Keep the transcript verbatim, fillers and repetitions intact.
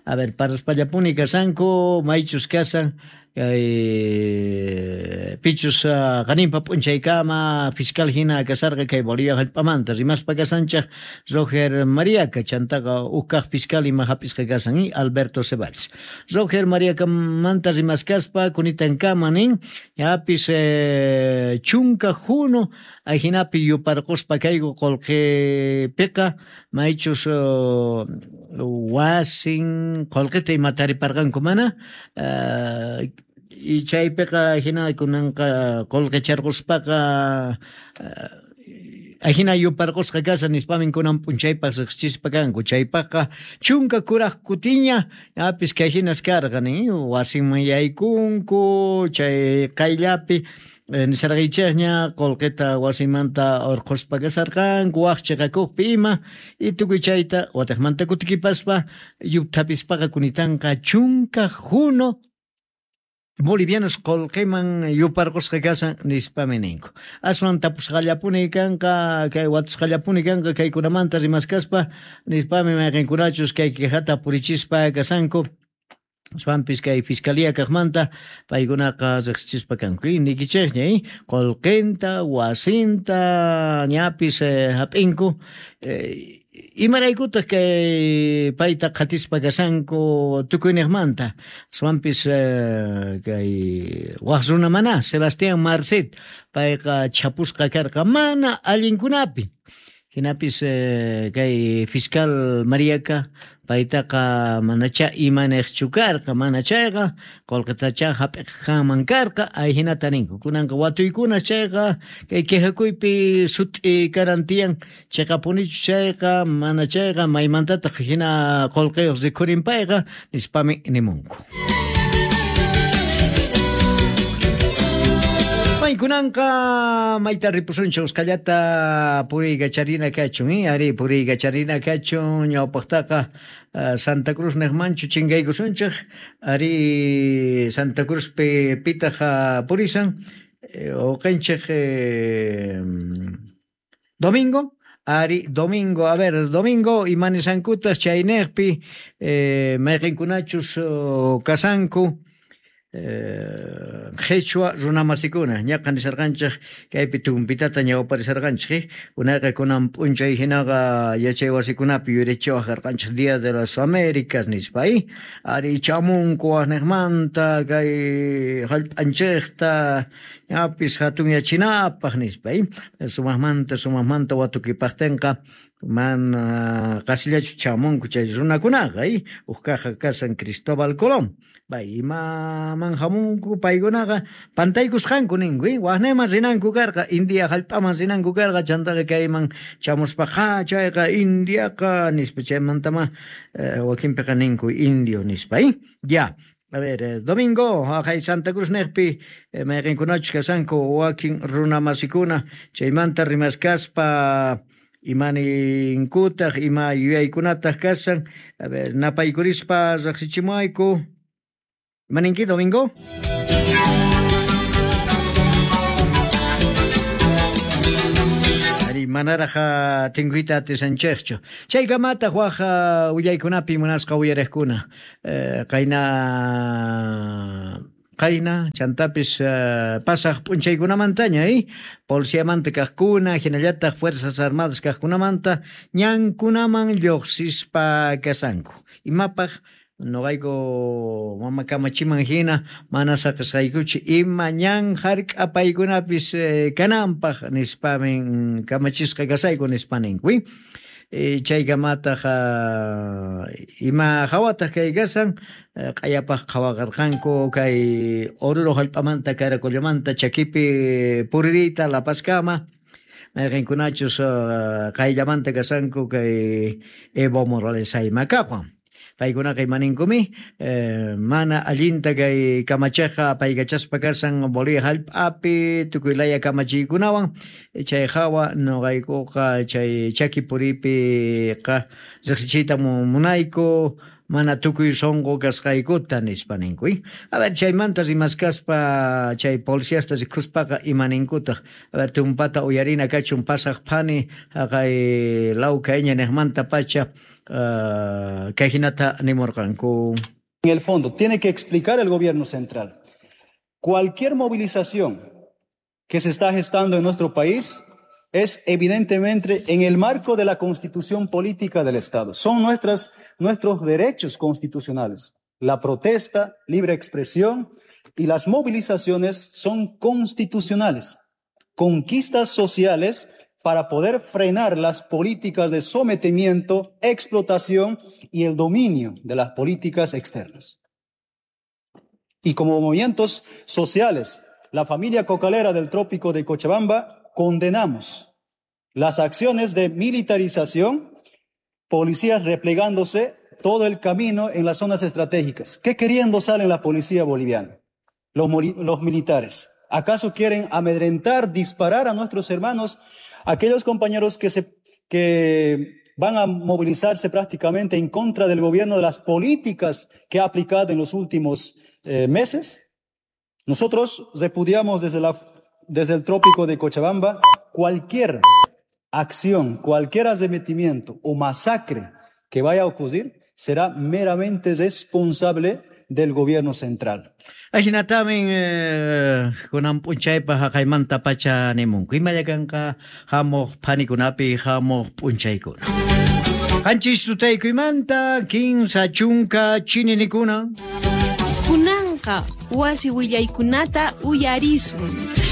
A ver, parlaspallapuni kasanku, maychus kasan, kay pichus qaninpa p'unchaykama fiscal hina kasarqa kay Bolivia hallp'amanta rimaspa kasanchej Roger Mariaca chantaqa huk kaq fiscal ima hap'isqa kasan y Alberto Ceballos. Roger Mariacamanta rimaskaspa kunitankama nin yapis eh, chunka juno ajinapi yuparquspa kayku qullqipiqa maychus uh, wasin qullqita ima tariparqanku mana uh, y chaypiqa hina kunanqa qullqicharquspaqa ajina yuparqusqa kasan nispamin kunan p'unchaypaq riqsichispa kanku chaypaqqa chunka kuraq kutiña yapis kay hinas karqa nin wasinman yaykunku chay qayllapi nisarqaychikña qullqita wasimanta urquspa kasarqanku waq chiqakuqpi ima y tukuy chayta watiqmanta kutikipaspa yupthapispaqa kunitanqa chunka juno bolivianos qullqiman yuparqusqa kasan nispami ninku. Aswan tapusqallapuni kanqa kay watusqallapuni kanqa kaykunamanta rimaskaspa nispami mayqinkunachus kay quejata purichispa kasanku. Aswanpis kay fiscalía kaqmanta paykunaqa riqsichispa kanku. Y nikichikña qullqinta wasinta ñapis hap'inku eh, imaraykutaq kay payta qhatispa kasanku tukuyniqmanta aswanpis eh, kay waq runa mana Sebastián Marcet payqa chapusqa karqa mana allinkunapi hinapis eh, kay fiscal Mariaca paytaqa manacha imanejchu karqa mana chayqa qullqitacha hap'iqkanman karqa ayhinata ninku kunanqa watuykuna chayqa kay quejakuypi sut'i karantiyan chiqapunichu chayqa mana chayqa maymantataq hina qullqiyuq rikhurin payqa nispami nimunku. Kunanqa mayta ripusunchik usqallata puriykacharina kachun, eh? Ari puriykacharina kachun ñawpaqtaqa uh, Santa Cruz niqmanchu chinkaykusunchik ari Santa Cruzpi pitaq purisan eh, uqanchik eh, domingo ari domingo, a ver, domingo imanisankutas chayniqpi eh, mayqinkunachus uh, kasanku qhichwa runamasikuna ñaqa nisarqanchik kaypi tumpitata ñawparisarqanchik unayqa kunan p'unchay hinaqa yachay wasikunapi yuyarichiwaq karqanchik Día de las Américas nispa ari chamunku waqniqmanta kay hallp'anchikta ñapis hatunyachinapaq nispa sumaqmanta sumaqmanta watukipaqtinqa mana qasillachu chamunku chay runakunaqa huk kaqqa kasan Cristóbal Colón bay imaman hamunku paykunaqa pantaykusqanku ninku waqniman rinanku karqa India hallp'aman rinanku karqa chantaqa kayman chamuspaqa chayqa Indiaqa nispa chaymantama wakinpiqa ninku indio nispa ya. A ver, domingo, haqay Santa Cruz niqpi mayqinkunachus kasanku wakin runamasikuna chaymanta rimaskaspa imaninkutaq ima yuyaykunataq kasan a ver, napaykurispa riqsichimuayku imaninki domingo. Manaraj tinkuyta atisanchikchu chaykamataq waj willaykunapi munasqa uyariqkuna qayna qayna chantapis pasaq p'unchaykunamantaña eh policiamanta kaqkuna hinallataq Fuerzas Armadas kaqkunamanta ñankunaman lluqsispa kasanku imapaq noqayku mama kamachiman hina mana saqisqaykuchu ima ñan hark'apaykunapis eh, kananpaq nispamin kamachisqa kasayku nispa ninku eh, chaykamataq uh, ima hawataq kay kasan q'ayapaq qhawaqarqanku kay Oruro hallp'amanta Caracollamanta chakipi puririyta La Pazkama mayqinkunachus uh, qayllamanta kasanku kay Evo Morales Aymakaqwan paykunaqa imaninkumi eh, mana allinta kay kamachiqqa paykachaspa kasan Bolivia hallp'api tukuy laya kamachiykunawan chay hawa nuqaykuqa chay chaki puripiqa riqsichiyta munayku mana tukuy sonqo kasqaykuta nispa ninku. A ver, chaymanta rimaskaspa chay policiasta rikuspaqa ima ninkutaq. A ver, tumpata uyarina kachun pasaq phani haqay lawka iñaniqmanta pacha uh, kay hinata nimurqanku. En el fondo, tiene que explicar el gobierno central. Cualquier movilización que se está gestando en nuestro país es evidentemente en el marco de la constitución política del Estado. Son nuestras, nuestros derechos constitucionales. La protesta, libre expresión y las movilizaciones son constitucionales. Conquistas sociales para poder frenar las políticas de sometimiento, explotación y el dominio de las políticas externas. Y como movimientos sociales, la familia cocalera del trópico de Cochabamba condenamos las acciones de militarización, policías replegándose todo el camino en las zonas estratégicas. ¿Qué queriendo salen la policía boliviana? Los, los militares. ¿Acaso quieren amedrentar, disparar a nuestros hermanos, aquellos compañeros que, se, que van a movilizarse prácticamente en contra del gobierno de las políticas que ha aplicado en los últimos eh, meses? Nosotros repudiamos desde, la, desde el trópico de Cochabamba cualquier acción, cualquier arremetimiento o masacre que vaya a ocurrir será meramente responsable del gobierno central. Ajinatamin eh, kunan p'unchaypaq haqaymanta pacha nimunku. Imallakanqa hamuq phanikunapi hamuq p'unchaykuna. Qanchis tutaykuymanta kinsa chunka chininikuna. Kunanqa wasi willaykunata uyarisun.